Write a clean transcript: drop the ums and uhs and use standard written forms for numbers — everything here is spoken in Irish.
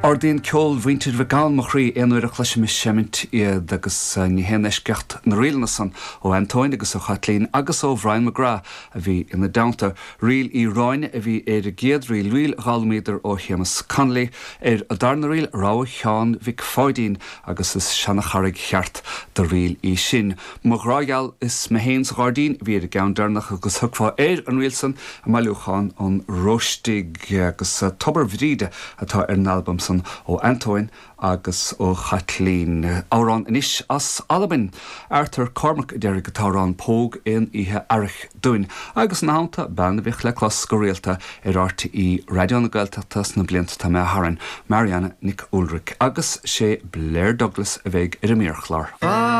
Ardaíonn ceol mhuintir Mhic Gabhann mo chroí aon uair a chloisim ag seimint iad agus ní haon eisceacht na ríleanna san ó Antóin agus ó Chaitlín agus ó Bhrian McGrath a bhí ina dteannta. Ríl Uí Ráinne a bhí ar an gcéad ríl, ríl a d'fhoghlaimíodar ó Shéamus Connolly. Ar an darna ríl, Rogha Sheáin Mhic Pháidín agus is seana-charraig cheart de ríl í sin. Mo ghrá gheal is mé féin sa ghairdín a bhí ar an gceann deireanach agus thiocfá ar an ríl san i mbailiúchán an Róistigh agus Tobar Bhríde atá ar an albam san ó Antóin agus ó Chaitlín. Amhrán anois as Albain. Arthur Cormac a déarfaidh an t-amhrán Póg Aon Oíche Earraigh dúinn agus ina theannta bean a bhíodh le clos go rialta ar RTÉ Raidió na Gaeltachta sna blianta atá imithe tharainn, Marianna Nic Ualraic agus sé Blair Douglas a bheidh ar an méarchlár.